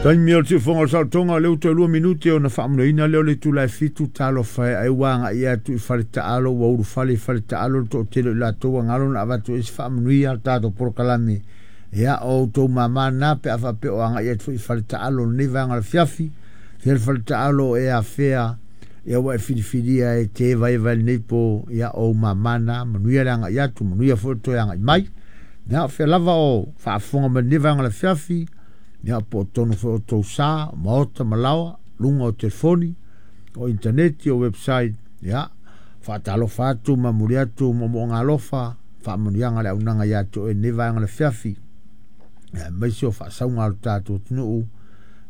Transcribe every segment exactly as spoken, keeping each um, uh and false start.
Taimi o le siufofoga o le saolotoga o lea ua toe lua minute ona faamuliaina lea o le itula e fitu talofa e ai ua agai atu i faletaalo ua ulufale i faletaalo le toatele o i latou ua galo na avatu ai se faamanuia le tatou polokalame. Ia o outou mamā na pe a faapea o agai atu foi i faletaalo lenei vaega o le afiafi. Fea le faletaalo e afea ia ua e filifilia e te vaevae lenei po ia o ou mamā na manuia le agai atu manuia foi le toe agai mai. Ia o fea lava o faafofoga mai lenei vaega o le afiafi. Ia po o tonu foi o tou sa, maota ma laoa, luga o telefoni, o intaneti, o website, ia faatalofa atu ma momoli atu moomooga alofa, faamanuiaga le auaunaga ia te oe i lenei vaega o le afiafi. Ia aemaise o faasauga a lo tatou atunuu,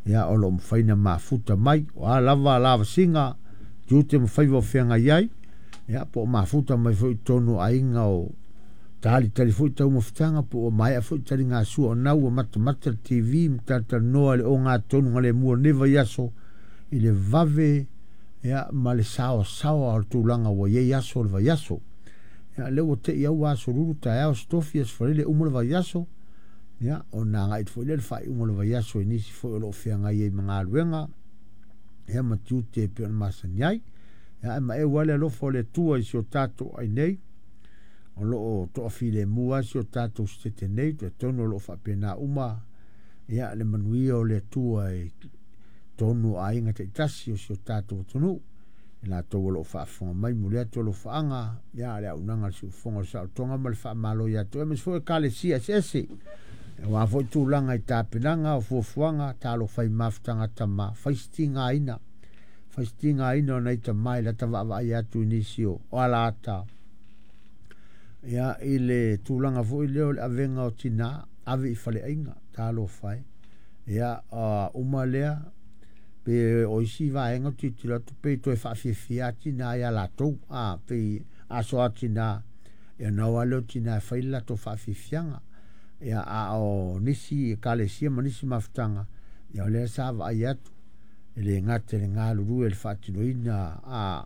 ia o lo o mafai ona mafuta mai. O a lava lavasiga, tiute ma faiva o feagai ai, ia po o mafuta mai foi i totonu o aiga o talitali foi taumafataga po ua maea foi taligasua o nau ua matamata le T V ma talatalanoa i le ogatotonu galemu o lenei vaiaso i le vave ia ma le saoasaoa o le tulaga ua i ai aso o le vaiaso. Ia lea ua tei au ua aso lulu taeao aso tofi aso faraile uma le vaiaso. Ia ona agai foi lea le faaiuga o le vaiaso i nisi foi o lo o feagai ai ma galuega ia ma tiute e pei ona masani ai. Ia ae maeu lava le alofa o le Atua i si o tatou ai nei. O lo o toafilemu lava si o tatou setete nei, talitonu o lo o faapena uma ia le manuia o le Atua i totonu o aiga taitasi o si o tatou atunuu. I latou o lo o faafofoga mai, momoli atu alofaaga ia le auaunaga a le siufofoga o le saolotoga ma le faamalo ia te oe, aemaise foi ekalesia eseese. Aua foi tulaga i tapenaga o fuafuaga, talofa i mafutaga tama, fai si tigaina, fai si tigaina o nai tama i lata vaavaai atu i nisi o alaata. Ia i le tulaga foi lea o le avega o tina, ave i faleaiga, talofa e. Ia uma lea, pe o isi vaega o tilotilo atu pe toe faafiafia a tina ia latou, a pe aso a tina, ia na o lava lea o tina e fai le latou faafiafiaga. Ia a o nisi ekalesia ma nisi mafutaga, ia o lea sa vaai atu, e le gata i le galulue i le faatinoina a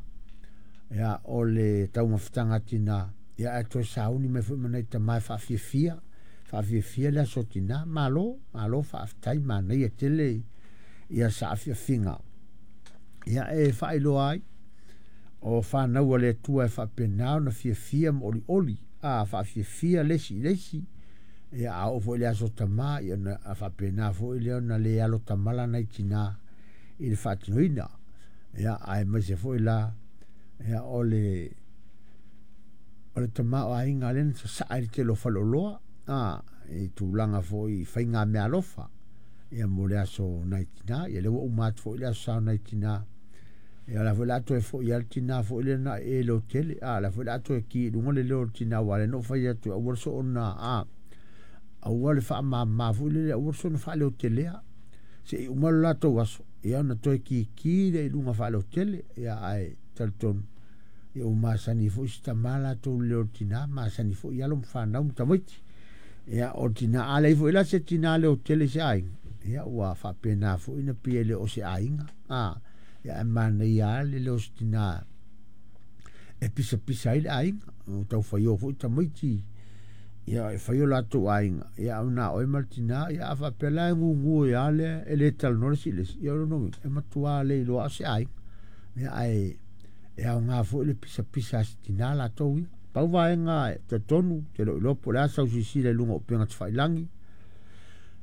ia o le taumafataga a tina, ia ae toe sauni mai foi ma nai tama e faafiafia, faafiafia le aso tina. Malo, malo faafetai, manaia tele ia saafiafiga. Ia e faailoa ai o fanau a le Atua e faapena ona fiafia ma olioli, a faafiafia le isi i le isi. Ia a oo foi i le aso tama, ia ona faapena foi lea ona le alo tamala nai tina i le faatinoina. Ia aemaise foi la ia o le o le tama o aiga lea na sasaa i le tele o faleoloa, a i tulaga foi i faiga meaalofa ia mo le aso nai tina. Ia lea ua uma atu foi le aso sa o nai tina. Ia la foi la toe foi le tina foi lea na e leo tele, a la foi la toe ki i luga le leo o le tina aua le na fai atu aua le soona a aua le faamama foi lele aua le soona faaleotelea se i uma le latou aso ia ona toe kiki le i luga faaleotele. Ia ae talitonu ia ua masani foi si tama latou le leo o le tina, masani foi alo ma fanau ma tamaiti. Ia o le tina a leai foi la se tina leotele i se aiga, ia ua faapena foi na pei e le o se aiga. A ia e manaia lava le leo o se tina e pisapisa ai le aiga, o taufaio foi tamaiti ia e fai o latou aiga, ia ona oe ma le tina, ia a faapea la e gugu ia lea e le talanoa le isi i le isi, ia o lona uiga e matua le iloa o se aiga. Ia ae e aoga foi le pisapisa a se tina latou ia. Pau vaega e talitonu, te le o iloa po o le a sau silasila i luga o upega tafailagi,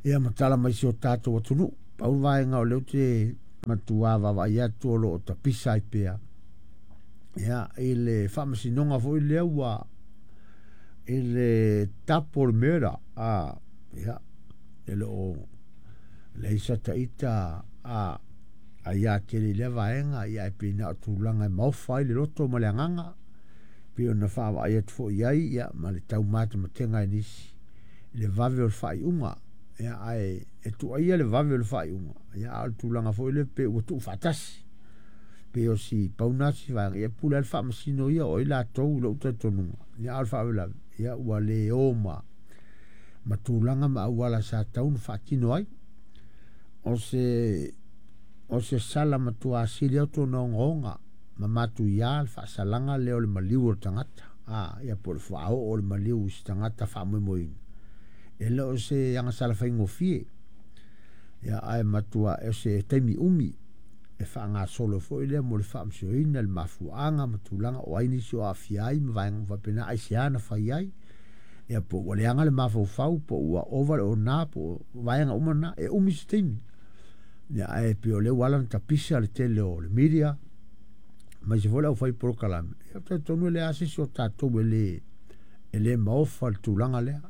ia ma tala mai si o tatou atunuu. Pau vaega o lea ou te matua vaavaai atu o lo o tapisa ai pea. Ia i le faamasinoga foi lea ua i le double murder, a ia e le o leai sa taita a aia tele i lea vaega, ia e pei na o tulaga e maofa ai le loto ma le agaga, pei ona faavaai atu foi ai ia ma le taumatematega e nisi i le vave o le faaiuga. Ia ae e tuuaia le vave o le faaiuga, ia a o le tulaga foi lea pe ua tuufaatasi. Pe o si pauna si vaega, ia pule lava le faamasino ia o ai latou i lou talitonuga. Ia a o le faalavelave, ia ua le o ma ma tulaga ma auala sa tatau ona faatino ai. O se o se sala matua sili atu ona ogaoga ma matuia le faasalaga lea o le maliu o le tagata. A ia po o le faaoo o le maliu i se tagata faamoemoeina. E le o se agasala faigofie. Ia ae matua e se taimi umi e faagasolo foi lea mo le faamasinoina le mafuaaga ma tulaga o ai nisi o aafia ai ma vaega uma faapena aisea na fai ai ia po ua leaga le mafaufau po ua ova le ona po o vaega uma na e umi se taimi. Ia ae pei o lea ua ala ona tapisa le tele o le media aemaise foi le aufai polokalame. Ia ou te talitonu e leai lava se isi o tatou e le e le maofa i le tulaga lea.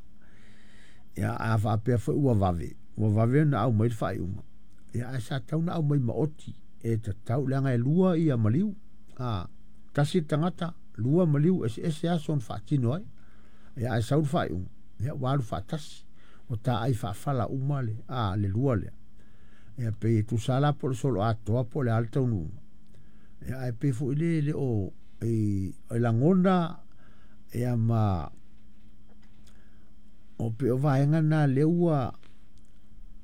Ia a faapea foi ua vave, ua vave ona aumai le faaiuga, ia ae sa tatau ona aumai maoti e tatau leaga e lua ia maliu. A, tasi le tagata, lua maliu, eseese aso na faatino ai. Ia ae sau le faaiuga, ia ua alu faatasi. Ua taai faafala uma le, a, le lua lea. Ia pei e tusa la po o le solo atoa po o le a le taunuuga. Ia ae pei foi le le o e, e lagona ia ma o pei o vaega na lea ua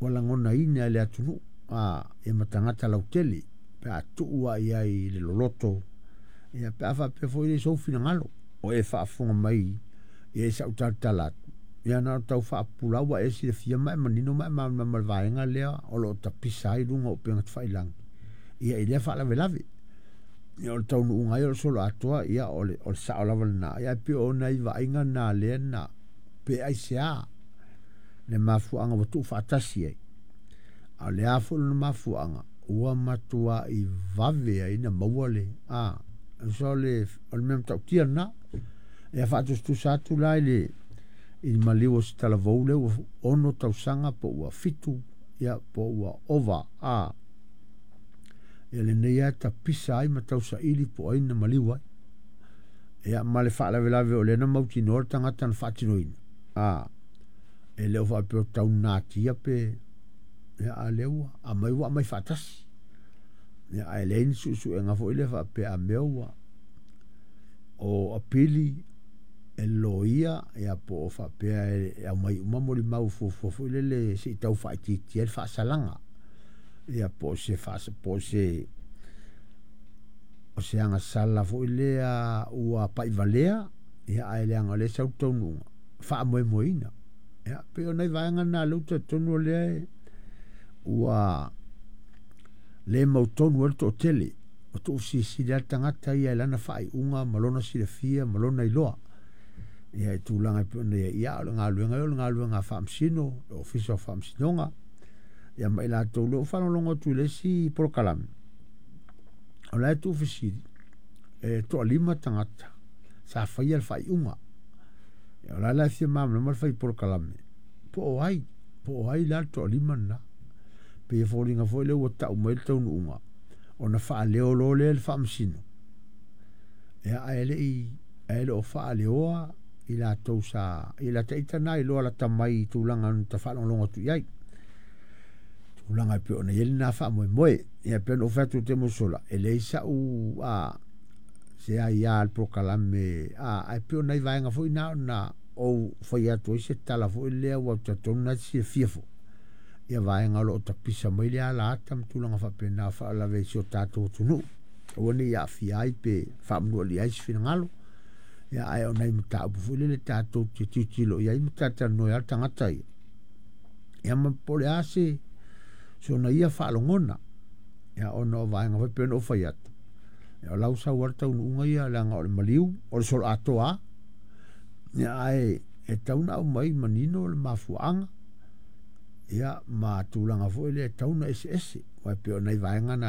ua lagonaina e le atunuu a ia ma tagata lautele pe a tuu lava i ai i le loloto ia pe a faapea foi le sou finagalo o e faafofoga mai ia i sau talatala atu ia na ona tau faapupula ua e silafia ma e manino ma e malamalama i le vaega lea o lo o tapisa ai luga o upega tafailagi ia i lea faalavelave. Ia o le taunuuga ai o le solo atoa ia o le, o le sao lava lena. Ia ae pei o nai vaaiga na lea na pe aisea le mafuaaga ua tuufaatasi ai. A o le a foi lona mafuaaga ua matuai vave ai na maua le a so o le o le mea matautia lena. Ia faatusatusa atu la i le i le maliu o se talavou lea ua ono tausaga po ua fitu ia po ua ova a ia lenei lava e tapisa ai ma tausaili po o ai na maliu ai. Ia ma le faalavelave o lea na mautinoa le tagata na faatinoina. A e le o faapea o tau natia pe ia a lea ua aumai ua aumai faatasi. Ia ae leai ni suesuega foi lea faapea a mea ua o apili e le loia ia po o faapea e aumai uma molimau fuafua foi lele se i tau faaitiitia ai le faasalaga. Ia po o se faasa po o se o se agasala foi lea ua paivalea ia ae leaga o lea e sau le taunuuga faamoemoeina. Ia pei o nai vaega na lea ou te talitonu o lea ua le mautonu ai le toatele o tuufesilisili lava le tagata ia i lana faaiuga ma lona silafia ma lona iloa. Ia i tulaga e pei ona i ai, ia o le galuega ia o le galuega a faamasino, le Ofisa o Faamasinoga, ia ma i latou lea ua faalogologo atu i le isi polokalame, o la e tuufesili, e toalima tagata sa faia le faaiuga. Ia o la la e fia malamalama le fai polokalame, po o ai, po o ai la le toalima lena. Pei e foliga foi lea ua tau mai le taunuuga, ona faaleo loa lea e le faamasino, ia ae le i ae le o faaleoa i latou sa i lata ita na iloa lata mai i tulaga na ta faalogologo atu i ai. Tulaga e pei ona i ai lena faamoemoe. Ia pei ona ou fai atu i le taimi ua sola, e leai sau a se aia le polokalame a ae pei o nai vaega foi na ona ou fai atu ai se tala foi lea ua ou talitonu na te silafia foi ia vaega o lo o tapisa mai le ala ata ma tulaga faapena o faalavelave i si o tatou atunuu. Aua ne i aafia ai pe faamanualia ai se finagalo. Ia ae o nai mataupu foi lele tatou te tilotilo i ai ma talatalanoa ai le tagata ia. Ia ma po o le a se sona ia faalogona. Ia ona o vaega foi pei ona ou fai atu. Ia o lau sau lava le taunuuga ia leaga o le maliu, o le solo atoa lava. Ia ae e tatau ona aumai manino le mafuaaga ia ma tulaga foi lea e tatau ona eseese. Aua e pei o nai vaega na